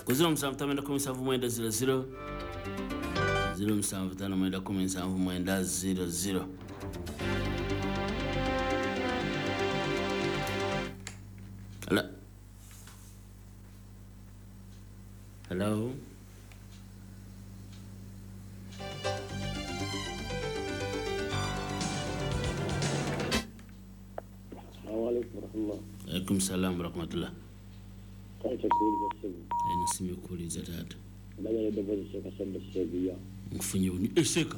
Ku 0759 00 0759 00. Hello. Hello. Alaikum salam wa rahmatullah. Ena kuuliza taata. Nkufunye buni eseka.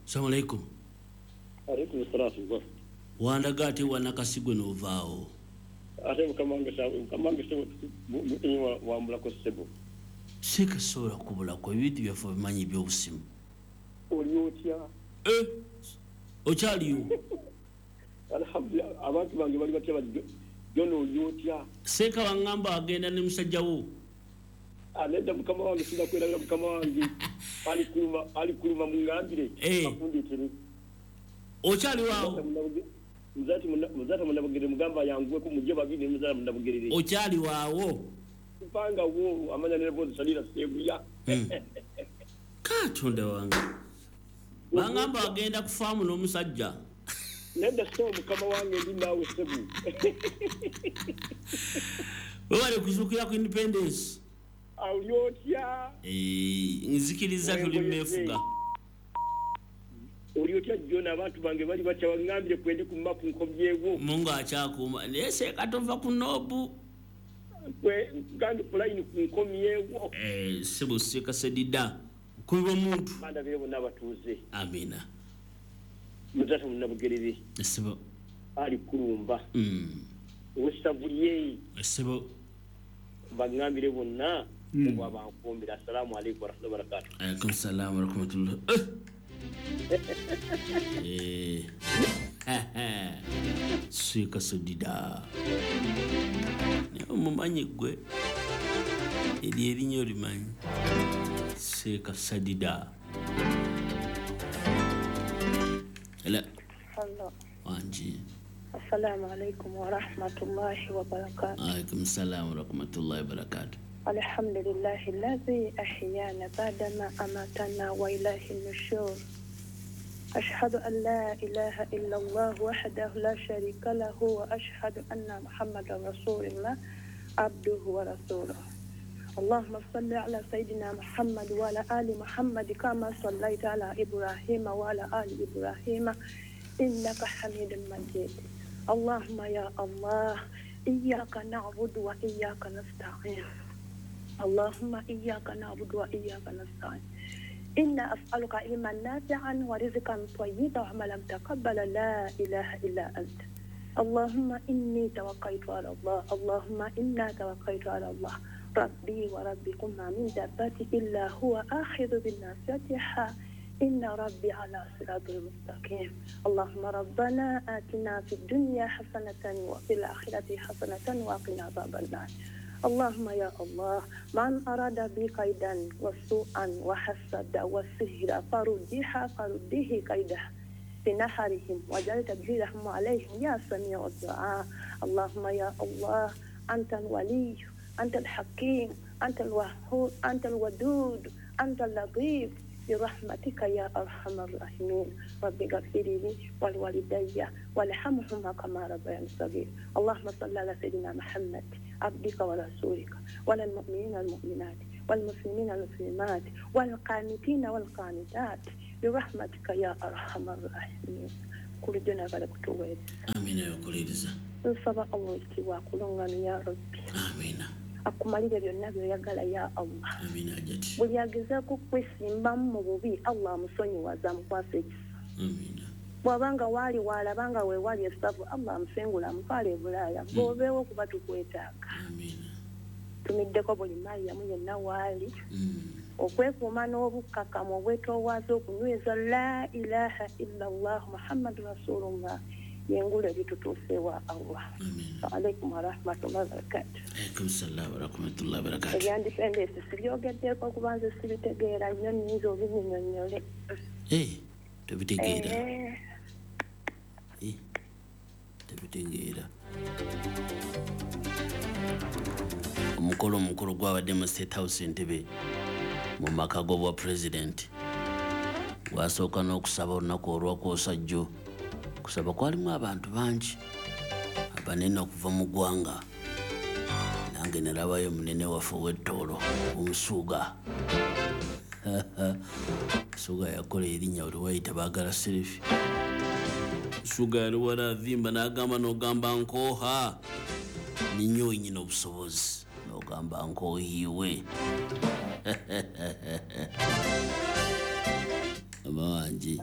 Assalamu alaikum. Alaikum salam. Wandaga ate wanakasigwe n'ovaawo. Ate mukama wange wambulako ssebo. Seeka sobola kubulako ebintu byaffe obimanyi eby'obusimu. Oli otya? Okyaliyo? Alhamdulillah, abantu bange bali batya bati John oli otya? Seeka wangamba agenda ne musajja wo. Nedda mukama wange sinda kwerabira mukama wange. Alikuluma mungambire akundeetere. Okyali waawo? Muzati munnabugerere mugamba yanguweko mujje babiri ne muzaala munnabugerere. Okyali waawo? Mpanga wo amanya ne bozi salira seguya. Katonda wange. Bangamba agenda kufaamu n'omusajja. Nedda so mukama wange ndi naawe ssebu. Webale kuzuukira ku independence. Oli otya? Nzikiriza tuli mmeefuga. Oli otya John abantu bange bali batya baŋŋambire kwendi ku mapu nkomyewo. Mungu akyakuuma naye seeka tova ku noobu. Gange ku layini nkomyewo. Ssebo seeka sedida nkubi bw'omuntu. Bandabire bonna abatuuze. Amiina. Muzata munnabugerere. Ssebo. Ali kulumba. Owessavulye. Ssebo. Baŋŋambire bonna obwabankumbira. Assalamu alaikum warahmatullahi wabarakatuh. Alaikum salam warahmatullah. Seeka sedida. Naye omumanyi ggwe eryo erinnya olimanyi. Seeka sadida. Hello. Hello. Wanji. Assalamu alaikum wa rahmatullahi wa barakatuh. Alaikum salam wa rahmatullahi wa barakatuh. Alhamdulillahi alladhi ahyana ba'dama amatana wa ilayhi nushur. Ashhadu an la ilaha illa Allah wahdahu la sharika lahu wa ashhadu anna Muhammadan rasulullah abduhu wa rasuluh. Allahumma salli ala sayyidina Muhammad wa ala ali Muhammad kama sallaita ala Ibrahim wa ala ali Ibrahim innaka Hamidum Majid. Allahumma ya Allah, iyyaka na'budu wa iyyaka nasta'in. Allahumma iyyaka na'budu wa iyyaka nasta'in. Inna as'aluka ilman nafi'an wa rizqan tayyiban wa amalan mutaqabbala la ilaha illa anta. Allahumma inni tawakkaltu ala Allah. Allahumma inna tawakkaltu ala Allah. Rabbi wa rabbikum ma min dabbati illa huwa akhidhu bin nasiyatiha. Inna rabbi ala siratil mustaqim. Allahumma rabbana atina fid dunya hasanatan wa fil akhirati hasanatan wa qina adhaban nar. Allahumma ya Allah, man arada bi kaidan wa su'an wa hasada wa sihra faruddiha faruddihi kaidah fi naharihim wa ja'al tadbirahum alayhim ya sami'u du'a. Allahumma ya Allah, anta al-wali, anta al-hakim, anta al-wahhab, anta al-wadud, anta al-latif. برحمتك يا أرحم الراحمين. رب اغفر لي ولوالدي وارحمهما كما ربياني صغيرا. اللهم صل على سيدنا محمد عبدك ورسولك وعلى المؤمنين والمؤمنات والمسلمين والمسلمات والقانتين والقانتات برحمتك يا أرحم الراحمين. كل دنا بلغتويز. آمين يا كوليزا. nsaba Allah ekitiibwa akulungamye ya Rabbi. Amiina. Akumalire byonna by'oyagala ya Allah. Amiina ajati. Buli agezaako okwesimbamu mu bubi Allah amusonyiwaza amukwasa ekisa. Amiina. Bw'abanga waali waalabanga weewali essavu Allah amusengula amutwale e Bulaaya. Bw'obeewo kuba tukwetaaga. Amiina. Tumiddeko buli Mariyamu yenna waali. Okwekuuma n'obukkakkamu obwetoowaze okunyweza la ilaha illa Allah Muhammadu Rasulullah. Yengule bitutuuse wa Allah. Alaikum warahmatullahi wabarakatuh. Alaikum salaam warahmatullahi wabarakatuh. Ebyandipendesi sibyogeddeko kubanze sibitegeera nnyo nnyinza obinnyonnyole. Tobitegeera. Tobitegeera. Omukolo omukulu gwabadde mu State House Entebbe mu maka g'obwa pulezidenti. Gwasooka n'okusaba olunaku olwakwosa jjo. Kusaba kwalimu abantu bangi abanene okuva mu ggwanga. Nange nalabayo munene waffe ow'ettoolo omusuuga. Musuuga yakola erinnya buli wayita baagala selfie. Musuuga yali wala avimba n'agamba n'ogamba nkooha. Ninyo wenyini obusobozi n'ogamba nkoohiiwe. Mama wange.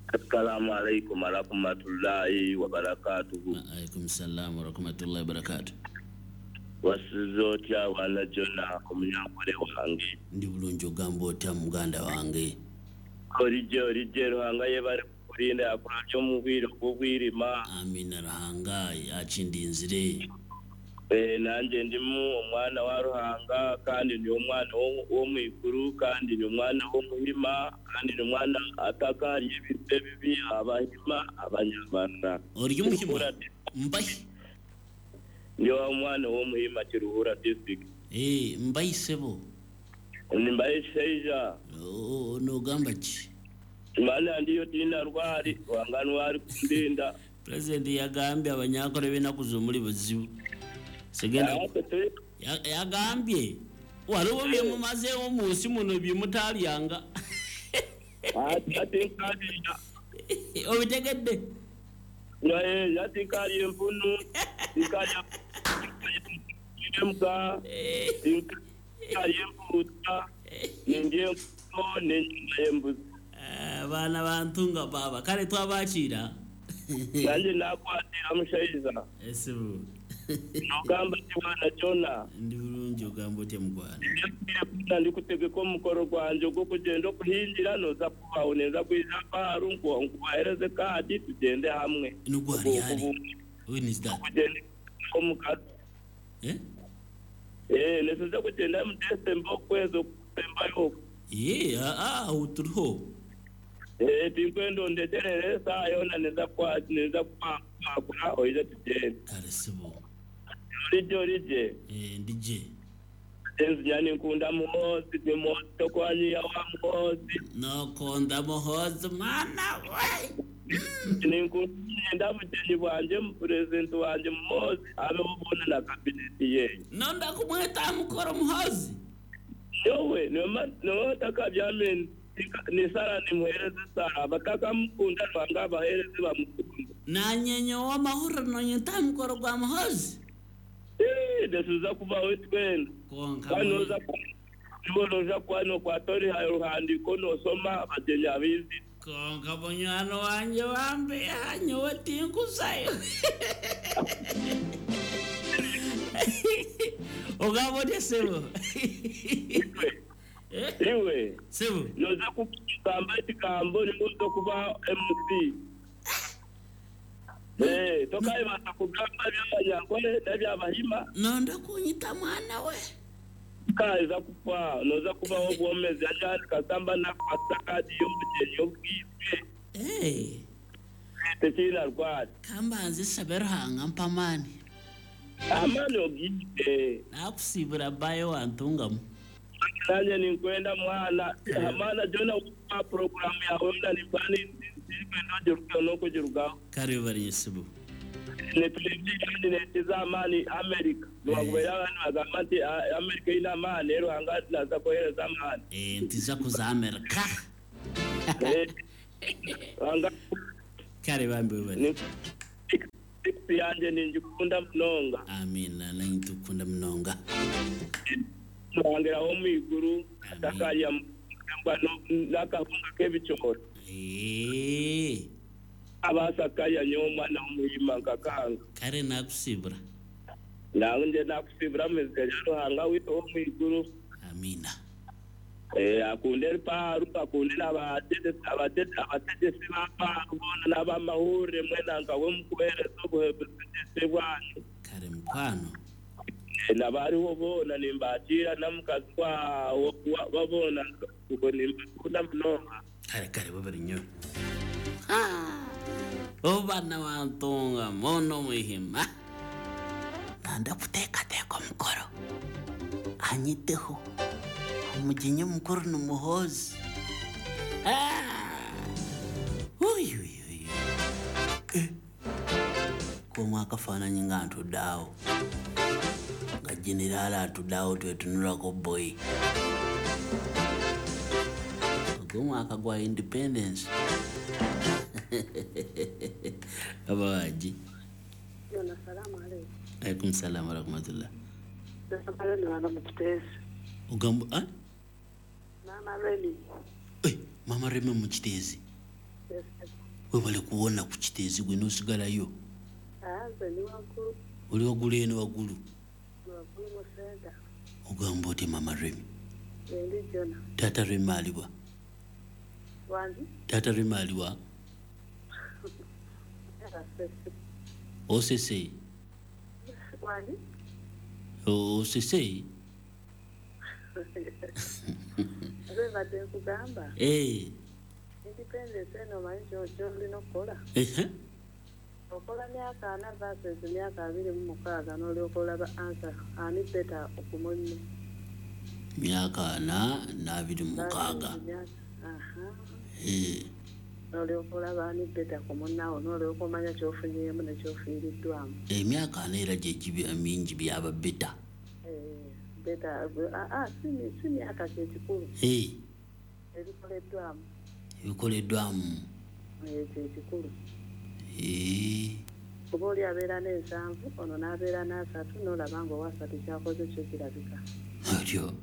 Assalamu alaikum warahmatullahi wabarakatuhu. Alaikum salam warahmatullahi wabarakatuh. Wasize otya wana Jona omunyankole wange? Ndi bulungi, ogamba otya muganda wange? Orijje orijje, Ruhanga yebale kukulinda akulabye omu bwire obw'obwirima. Amina, Ruhanga akindinzire. Nanjye ndimu omwana wa Ruhanga, kandi ndi omwana w'omwiguru, kandi ndi omwana w'omuhima, kandi ndi omwana atakariye ebintu ebibi, abahima abanyamara. Ori omuhima? Mbahi? Ndi omwana w'omuhima, Kiruhura district. Mbahi sebo? Mbahi sheija. Nogamba ki? Mana ndiyo tina rwari, Ruhanga nwari kundinda. President yagambye abanyankole b'ennaku zomuli buzibu. Segenda yagambye waliwo bye mumazeewo mu nsi muno bye mutalyanga. Obitegedde? Yatinkalya empunu, tinkalya embwa, tinkalya empuuta, nindya enkoko n'enyama y'embuzi. Abaana bantunga baaba kale twabakiira. Nanjye nakwatira mushaija. Esibu. Nogamba ti mwana Jona? Ndi bulungi, ogamba otya mugwana? Ndi kutegeka omukoro gwanje ogw'okugenda okuhingira, noza kubaho neza kwija paaru nkubahereze kaadi tugende hamwe. Nugwari hari? When is that? Kugenda omukazi. Nesize kugenda mu December okwezi okusembayo. Aho turiho. Tinkwenda ondeterere esaaha yoona neza kwakura oije tugende. Kale sibo. Orijje orijje. Ndije. Enzinya ninkunda Muhoozi, gwe Muhoozi tokwanyiya wa Muhoozi. Nokonda Muhoozi mwana we. Ninkunda bugyenyi bwanje mu purezidenti wanje Muhoozi abeho boona na kabineti ye. Nonda kumweta mukoro Muhoozi. Nyowe niwe takabyamini ni sara nimuhereze sara abatakamukunda Ruhanga abahereze bamukunda. Nanye nyowe amahuriro nonyeta mukoro gwa Muhoozi. Nesiza kubaho twena. Konka kandi noza kuba nokwata oruhandiko nosoma abagyenyi abizi. Konka bunywani wanje bambeha nyowe tinkuzayo. Ogamba otya sebo? Iwe. Sebo. Noza kugamba ekigambo nimuza kuba MC. Tokayibasa kugamba eby'abanyankole n'eby'abahima. Nonda kunyita mwana we. Kaiza kufa noza kubaho obwomezi ajani kasamba nakwasa kadi y'obugyenyi obwibwe. Tekiina rwari. Kambanze sabe Ruhanga mpa amaani. Amaani ogiite. Nakusibura bayo wantungamu. Nanye ninkwenda mwana. Amana Jona wa programu yawe mna nipani nkwenda ogirukeho n'okugirugaho. Kare bari sibo. Netulebye netiza amaani America. Niwakubeera abantu bagamba nti America ine amaani, Ruhanga naza kuhereza amaani. Ntiza kuza America. Ruhanga. Kare bambi bari. Yanje ninjikunda munonga. Amina, nintukunda munonga. Ruhanga wo mwiguru atakaya mbwa n'akahunga k'ebicoro. Abasakaya nyowe omwana w'omuhima nkakanga. Kare nakusibura. Nange nakusibura muzika ya Ruhanga witu wo mwiguru. Amina. Akunde paaru, akunde abategesi ba paaru boona n'abamahurire mwena nkawe mukuhereza obutegesi bwanyu. Kare mukwano. Nabariho boona nimbakiira namukazi babona ubwo nimbakunda munonga. Kare kare babiri nnyo. Obana wantunga mono muhima. Nanda kuteekateeka omukoro. Anyiteho omugenyi omukuru ni Muhoozi. Komu akafaananyi nga ntudde awo nga generaali atudde awo twetunulako boyi ogw'omwaka gwa independence. Abawaji. Alaikum salam wa rahmatullah. Ogamba Mama Remi. Mama Remi mu Kiteezi. Webale kuwona ku Kiteezi gwe n'osigalayo. Oli waggulu eno waggulu. Ogamba otya Mama Remi? Taata Remi aliwa? Taata Remi aliwa? Osese. Osese. Independence eno omanyi ky'olina okukola. Okola myaka 4 versus myaka 26 n'olyoka olaba answer ani better okumunne. Myaka 4 na 26. N'olyoka olaba ani better ku munnaawo n'olyoka omanya ky'ofunyeemu ne ky'ofiiriddwamu. Emyaka 4 era gye giba mingi byaba better. Better si myaka kye kikulu. Ebikoleddwamu. Ebikoleddwamu. Kye kikulu. Kuba oli abeera n'ensanvu ono n'abeera n'asatu n'olaba ng'owasatu kyakoze kyo kirabika. Otyo.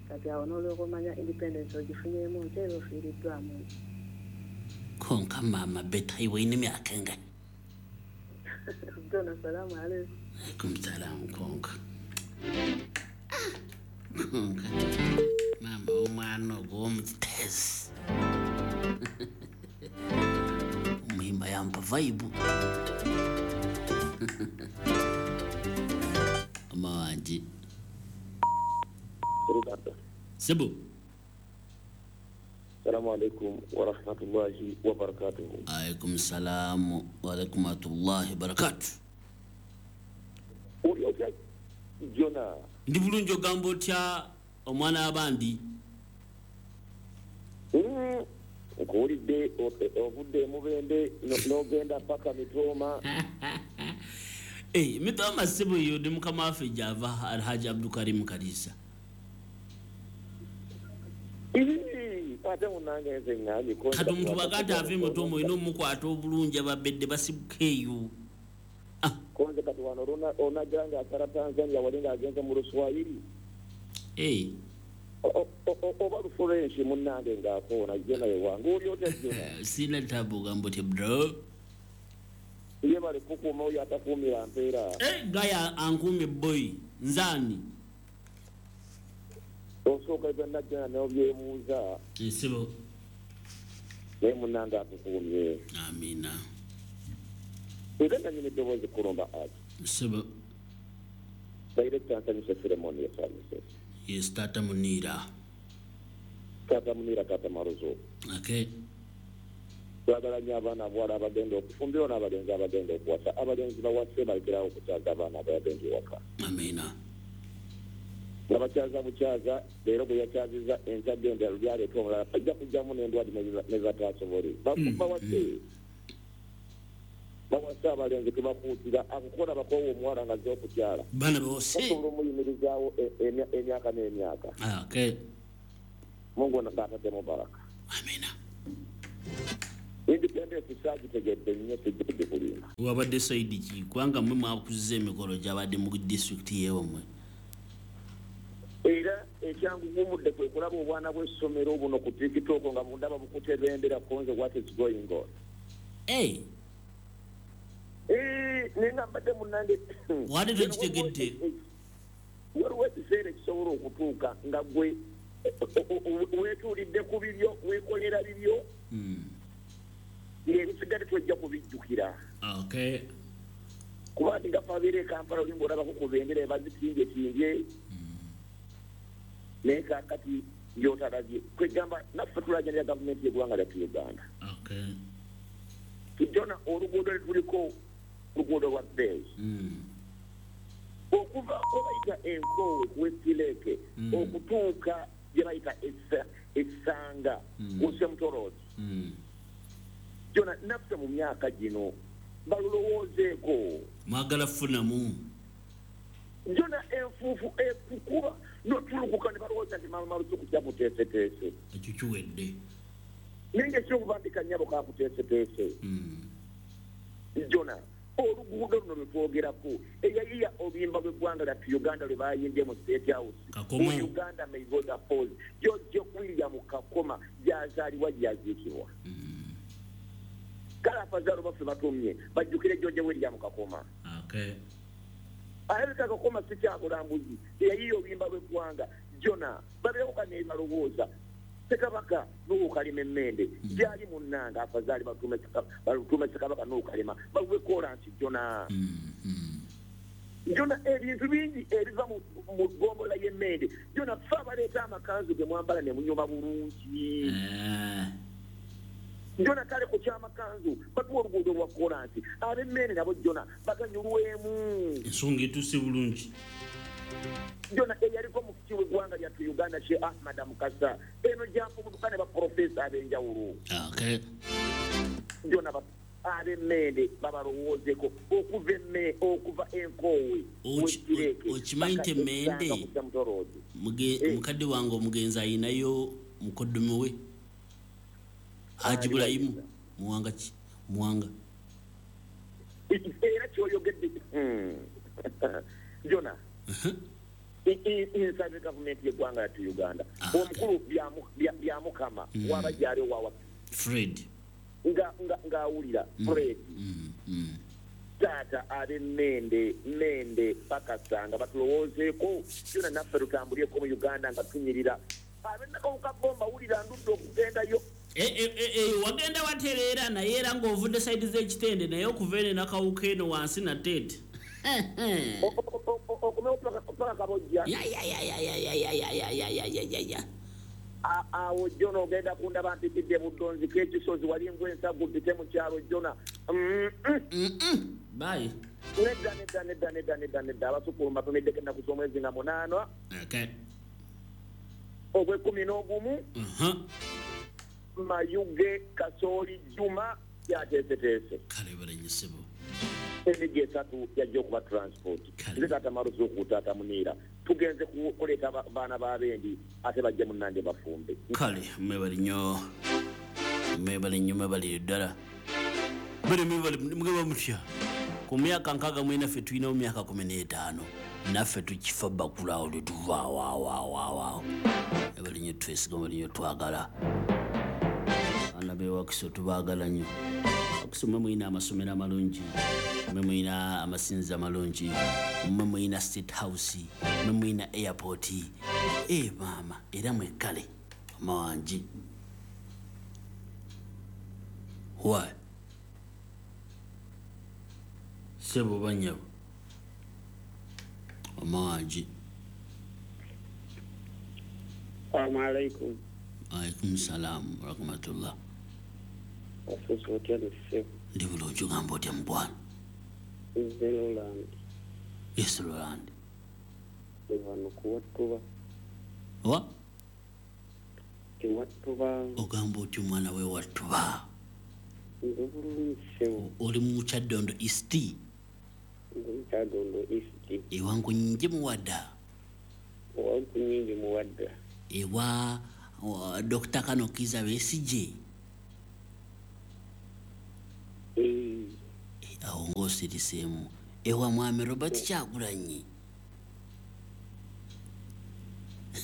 Kati awo n'olyoka omanya independence ogifunyeemu nti era ofiiriddwamu. Konka maama beta iwe ine myaka engani? Dona salamu alaikum. Alaikum salamu konka. Konka. Maama omwana ogwo w'omu Kiteezi. Muhimba yampa vibe. Amawanji. Sebo. Assalamu alaikum wa rahmatullahi wa barakatuhu. Alaikum salamu wa rahmatullahi wa barakatuh. Oli otya Jona? Ndi bulungi ogamba otya omwana abandi? Nkuwulidde ovudde Mubende n'ogenda paka Mitooma. Mitooma ssebo eyo ndi mukama waffe gy'ava Alhaji Abdulkarim Kalisa. Ate munnange nze ŋŋambye kati omuntu bw'agamba ave Mitooma olina omukwata obulungi ababedde basibuka eyo. Konze kati wano onajja ng'asala Tanzania wali ng'agenze mu Luswayiri. Oba Lufurenshi munnange ng'akoona Jona ye wange oli otya Jona? Sina tabu ogamba otya bro? Ye bali kukuuma oyo atakuumira mpeera. Gaya ankuumye boy nze ani? Osooka byonna Jona n'obyebuuza. Nsebo. Naye munnange atukuumye. Amiina. Nze nannyini eddoboozi Kulumba Ati. Nsebo. Director Nsanyuse Filemon yesanyuse. Yes, Tata Munira. Tata Munira, Tata Maruzo. Okay. Twagala nnyo abaana abawala abagenda okufumbirwa n'abalenzi abagenda okuwasa. Abalenzi bawase balekerawo okukyaza abaana abagenda ewaka. Amiina. Nga bakyaza bukyaza, leero bwe yakyazizza enkya genda lyaleeta omulala ajja kujjamu n'endwadde ne zatasobole. Bawase. Bawase abalenzi tebakuutira akukola bakoowa omuwala nga azze okukyala. Baana bawase. Basobola omuyimirizaawo emyaka n'emyaka. Okay. Mungu ng'ataddemu baraka. Amiina. Independence saagitegedde nnyo sijjidde kulimba. Wabadde saidi ki kubanga mmwe mwakuzza emikolo gyabadde mu disitulikiti yeewamwe. Era ekyangugumudde kwe kulaba obwana bw'essomero buno ku TikTok nga bundaba bukute bendera konze what is going on. Nenga mbadde munnange. Wadde tokitegedde. Waliwo ekiseera ekisobola okutuuka nga gwe weetuulidde ku bibyo, weekolera bibyo. Ng'ebisigadde twejja kubijjukira. Okay. Kuba nti nga abeera e Kampala oli ng'olabako ku bendera bazitingyetimbye. Naye kaakati gy'otalabye. Kwegamba naffe tulajanira gavumenti y'eggwanga lyaffe Uganda. Okay. Jona oluguudo lwe tuliko luguudo lwa bbeeyi. Okuva we bayita Enkoowe ku Westileke okutuuka gye bayita Essanga ku Semutoroodi. Jona naffe mu myaka gino balulowoozeeko. Mwagala funamu. Jona enfuufu ekukuba notulukuka ne balowooza nti malumalusuku kyakuteeseteese. Ekyo kiwedde. Naye nga ekyokubambika nnyabo kakuteeseteese. Jona oluguudo luno lwe twogerako eyayiya oluyimba lw'eggwanga lyaffe Uganda lwe bayimbye mu State House. Kakoma. Mu Uganda may God oppose. George William Kakoma gy'azaalibwa gy'aziikibwa. Kale abazaalo baffe batumye bajjukire George William Kakoma. Okay. Alabika Kakoma si kyabulambuzi eyayiya oluyimba lw'eggwanga. Jona babeerako kane balowooza Ssekabaka Nuhu Kalema emmende gyali munnanga afazaali batume Ssekabaka Nuhu Kalema bawe kolansi. Jona Jona ebintu bingi ebiva mu ggombolola y'emmende. Jona ffe abaleeta amakanzu ge mwambala ne munyuma bulungi. Jona kale ku kyamakanzu batuwa oluguudo lwa kolansi ab'emmende nabo Jona baganyulwemu. Ensonga etuuse bulungi. Jona eyaliko mufti w'eggwanga lyaffe Uganda Sheikh Ahmad Mukasa eno gyafubutuka ne baprofesa ab'enjawulo. Okay. Jona ab'emmende babalowoozeko okuva Enkoowe. Okimanyi nti emmende mukadde wange omugenzi ayinayo mukoddomi we Haji Bulayimu Muwanga ki Muwanga. Era kyoyogedde Jona inside gavumenti y'eggwanga lyaffe Uganda omukulu Byamukama waba gyali owawa Fred ng'awulira Fred taata ab'emmende mmende bakasanga batulowoozeeko. Jona naffe tutambulyeko mu Uganda nga tunyirira. Ab'ennakawuka bomba wulira ndudde okugendayo. Wagenda watereera naye era ng'ovudde sayidi z'ekitende naye okuva eno Nakawuka eno wansi nateete. Okomewo paka Kabojja. Ya. Awo Jona ogenda kundaba mpitidde Buddonzi k'ekisozi wali ngw'ensagu mpite mu kyalo Jona. Bye. Nedda nedda nedda nedda nedda nedda abasukulu mbatumiddeko ennaku z'omwezi nga 8. Okay. Ogw'ekumi n'ogumu. Mayuge Kasooli Juma yateeseteese. Kale balenyesebo. Emigi esatu yajja okuba transport. Nze taata Maruzuku taata Muniira tugenze kuleeta baana b'abendi ate bajje munnange bafumbe. Kale mwebale nnyo mwebale nnyo mwebale ddala. Bale mwebale mugaba mutya. Ku myaka 64 ffe tulinawo myaka 15 naffe tukifa bakula awo tetuva awo. Mwebale nnyo twesiga mwebale nnyo twagala. Abaana b'ewakiso tubaagala nnyo. Wakiso mmwe mulina amasomero amalungi, mmwe mulina amasinzizo amalungi, mmwe mulina State House, mmwe mulina airport. Maama era mwekkale mawangi. Why? Ssebo bannyabo amawangi. Assalamu alaikum. Alaikum salam wa rahmatullah. Wasusu otya nessebo? Ndi bulungi ogamba otya mukwano? Nze Roland. Yes Roland. Wano kuwattuba. Wa? Ewattuba. Ogamba otya omwana we wattuba? Ndi bulungi ssebo. Oli mu Kyaddondo East? Ndi mu Kyaddondo East. Ewa Nkunyingi Muwadda? Ewa Nkunyingi Muwadda. Ewa Dr. Kano Kizza Besigye? Awo ng'osiriseemu. Ewa Mwami Robert Kyagulanyi?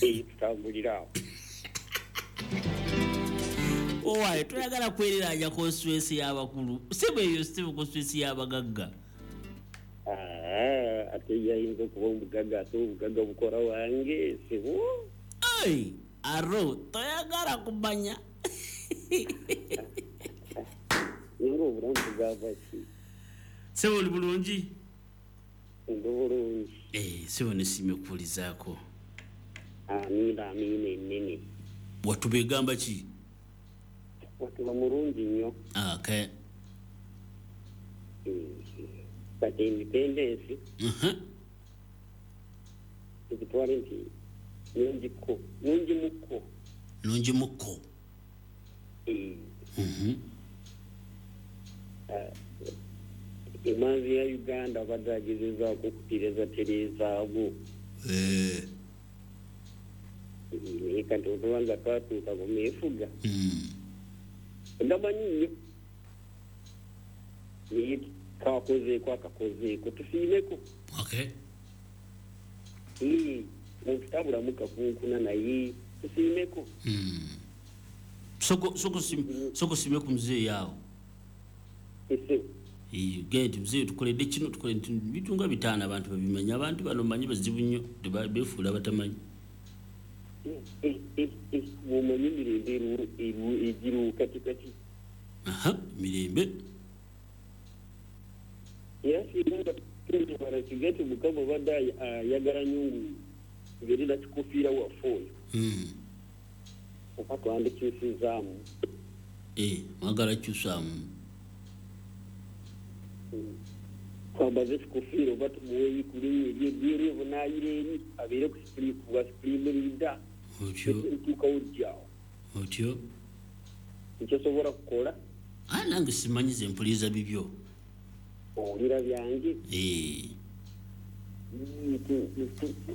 Tutambulira awo. Owaye toyagala kwereranya constituency y'abakulu. Si bweyo si constituency y'abagagga. Ate yayinza okuba omugagga ate obugagga bukola wange sibwo. Ai, aro toyagala kumanya. Nga obulamu bugamba ki? Ssebo oli bulungi? Ndi bulungi. Ssebo nesiimye okuwulizaako. Amiina amiina ennene. Watuba egamba ki? Watuba mulungi nnyo. Okay. Kati independence. Tukitwale nti nungi mukko. Nungi mukko. Emanzi ya Uganda abadde agezezaako okutereeza tereezaawo. Naye kati otubanza twatuuka ku meefuga. Ndamanyi nnyo. Naye kakozeeko akakozeeko tusiimeko. Okay. Muntu tabulamu kakunkuna naye tusiimeko. Soko sime ku muzeeyi awo. Ese. Genda muzeeyi tukoledde kino tukoledde bintu nga bitaano abantu babimanya abantu bano manyi bazibu nnyo beefuula batamanyi. Bw'omanyi emirembe egiriwo kati kati. Mirembe. Era singa tuwala kigati Mukama obadde ayagala nnyo ng'erina kikufiira waffe oyo. Oba twandikyusizaamu. Mwagala kyusaamu. Twambaze ekikofiira oba tumuweeyi ku linnya ery'ebweru obunaayira eri abeere ku bwa supreme leader. Otyo. Tuukawo ddyawo. Otyo. Nkyosobola kukola. Nange simanyi ze mpuliriza bibyo. Owulira byange.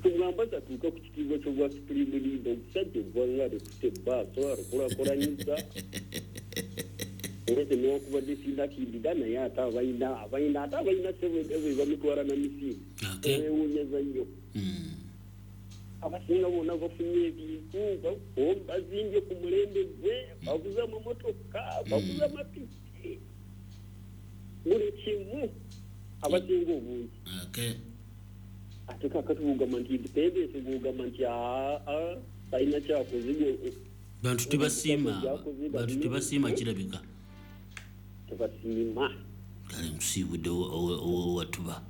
Tugamba tuuka ku kitiibwa ky'obwa supreme leader omusajja eggwanga alikutte ebbaaso alikulakulanyiza. Era newankubadde sirina kindida naye ate abalina ssente bamutwala na misiri. Beewuunyeza nnyo. Abasinga bonna bafunye ebintu bazimbye ku mulembe gwe baguze amamotoka baguze amapiki buli kimu abasinga obungi. Ate kaakati bw'ogamba nti independence bw'ogamba nti talina kyakoze. Bantu tebasiima kirabika. Tebasiima. Kale nkusiibudde owatuba.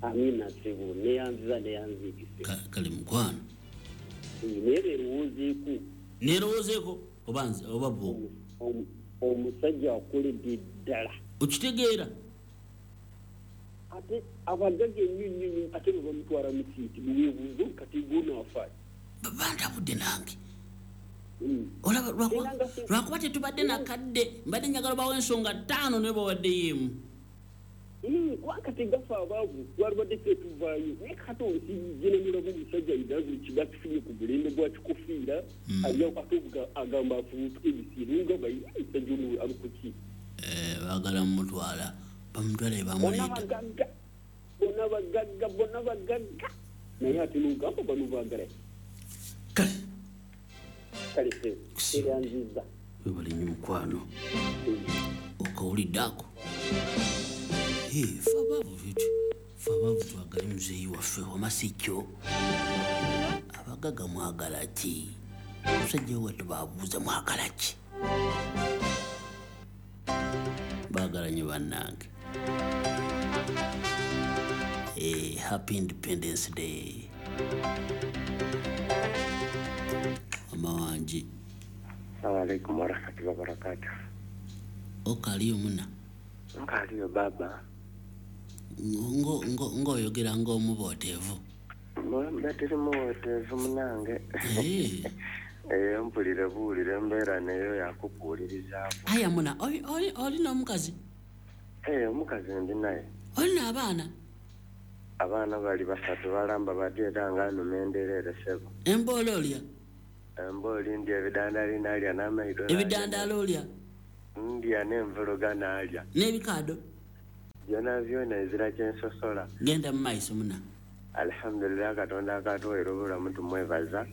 Amina ssebo neyanziza neyanziikise. Kale mukwano. Naye beerowoozeeko. Neerowoozeeko oba bwo? Omusajja akoledde ddala. Okitegeera? Ate abagagga ennyo nnyo ate bwe bamutwala mu siiti weebuuze kati gw'onaafa. Bantabudde nange. Olaba lwakuba tetubadde nakadde mbadde njagala bawo ensonga ttaano naye bawaddeyo emu. Kubanga tegafa abaavu twalibadde ffe tuvaayo naye kati olusigenamulamu omusajja ayina buli kimu akifunye ku mulembe gwa kikofiira ali ate agamba afubutuka emisiiri ngamba omusajja ono ali ku ki. Baagala mumutwala bamutwala bamuleeta. Bonna bagagga naye ate n'ogamba bano baagala ki. Kale. Kale seeyanziza. Webale nnyo mukwano. Okawulidde ako. Ffe abaavu twagale muzeeyi waffe wamasi kyo. Abagagga mwagala ki? Omusajja we tubabuuza mwagala ki? Baagala nnyo bannange. Happy Independence Day. Mama wange. Assalamu alaikum warahmatullahi wabarakatuh. Okaliyo muna? Nkaliyo baba. Ng'oyogera ng'omubooteevu. Mbatiri muwooteevu munange. Mpulire buwulire embeera neyo yakukuwulirizaako. Aya muna, olina omukazi? Omukazi ndi naye. Olina abaana? Abaana bali basatu balamba bati era nga nnuma endereere ssebo. Embooli olya? Embooli ndya ebidandaali nalya n'amaido. Ebidandaali olya? Ndya n'envuluga nalya. N'ebikaado? Byonna byonna ezira kye nsosola. Genda mu maiso muna. Alhamdulillah Katonda akatuweera obulamu tumwebaza.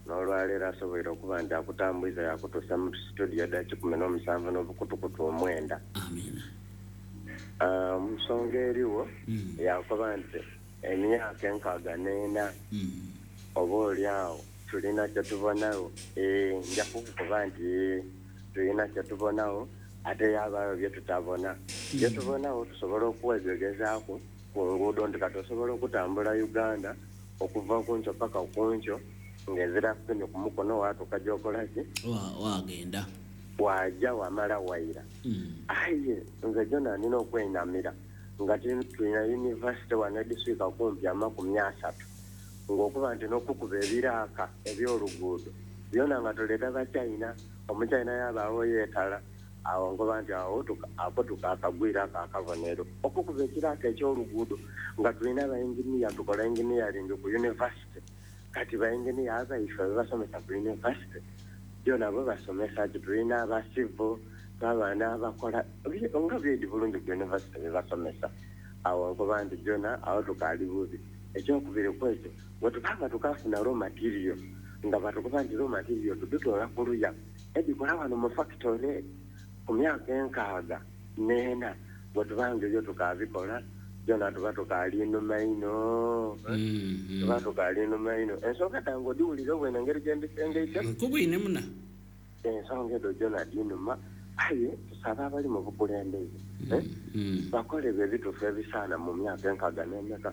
N'olwaleero asoboire okuba nti akutambuliza yakutuusa mu studio dda 17 n'obukutukutu 9. Amiina. Mu nsonga eriwo yakuba nti emyaka 64 oba oli awo tulina kye tubonawo. Nja kukuba nti tulina kye tubonawo ate yabaayo bye tutabona. Bye tubonawo tusobola okuwegegezaako ku nguudo nti kati osobola okutambula Uganda okuva ku nkyo paka ku nkyo ng'ezira kufunye ku mukono waatuuka gy'okola ki? Wagenda. Wajja wamala wayira. Aye nze Jona nina okwenamira Nga tulina university wano ediswika kumpi 30 ng'okuba nti n'okukuba ebiraaka eby'oluguudo byona nga tuleeta Bachina, Omuchina yabaawo yeetala awo nkoba nti awo ako tukakagwira ako akabonero. Okukuba ekiraaka eky'oluguudo nga tulina abainginiya, tukola engineering ku university, kati bainginiya abaife bebasomesa ku university byona bo basomesa ti tulina aba civil, abaana abakola nga byedi bulungi ku university bebasomesa. Awo nkoba nti byona awo tukaali bubi. Ekyokubiri kwekyo bwe tubanga tukafuna raw material nga batukuba nti raw material tudutoola ku luya ebikola wano mu factory ku myaka 64, bwe tubanga ebyo tukabikola byona tuba tukaali nnuma ino, tuba tukaali nnuma ino. Ensonga tange odiwulira obwene engeri gye mbisengeite nkubwine muna ensonga edo gyona dinuma. Aye tusaba abali mu bukulembeze bakole ebyo ebituufu ebisaana mu myaka 64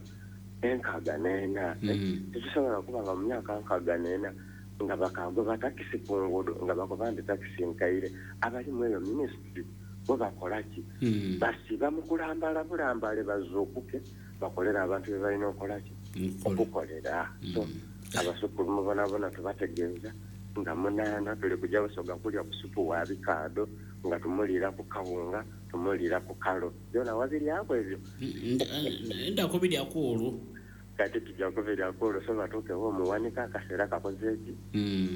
64. Tekisobola kuba nga mu myaka 64 nga bakagoba takisi ku nguudo nga bagoba nti takisi nkaire. Abali mu eyo minisitule bo bakola ki? Basiba mu kulambala bulambale bazuukuke bakolere abantu be balina okukola ki? Okukolera. So abasukulu mubonabona tubategeeza nga 8 tuli kujja Busoga kulya ku supu wa bikaado nga tumuliira ku kawunga, tumuliira ku kalo. Byona wabiryako ebyo? Ndako biryako olwo. Kati tujja kubiryako olwo, so batuukewo omuwanika akaseera kakoze ki?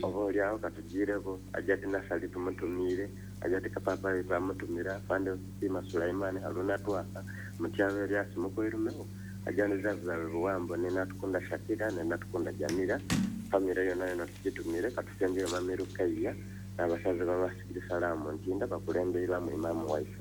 Oba oliawo katugiireko, ajja ti Nasali tumutumiire, ajja ti Kapapayi twamutumira, Fande Sima Sulaimani, Haruna Twaka, Mutyaba Elias Mukwirumewo, ajja ne Zazawe Buwambo, ne Natukunda Shakira, ne Natukunda Jamira, famire yonna yonna tugitumire, katusembyeyo Mami Rukaiya n'abasaze ba Masjid Salaamu Ntinda bakulemberwamu Imaamu waife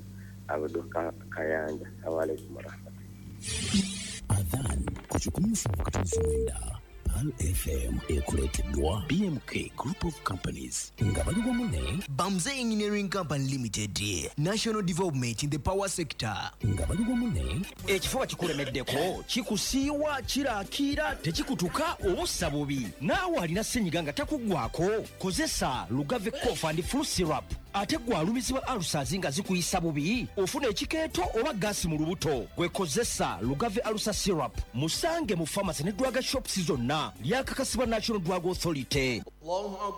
Abdu Kayanja. Assalamu alaikum warahmatullahi. Adhan ku 107.9 Pearl FM ekuleeteddwa BMK Group of Companies nga bali wamu ne Bamze Engineering Company Limited, National Development in the Power Sector nga bali wamu ne ekifuba kikulemeddeko, kikusiiwa, kirakiira, tekikutuka obussa bubi. Naawe alina ssenyiga nga takuggwako, kozesa Lugave Cough and Flu Syrup. Ate gwe alumizibwa ulcers nga zikuyisa bubi, ofuna ekikeeto oba gaasi mu lubuto, gwe kozesa Lugave Ulcer Syrup. Musange mu pharmacy ne drug shops zonna. Lyakakasibwa National Drug Authority.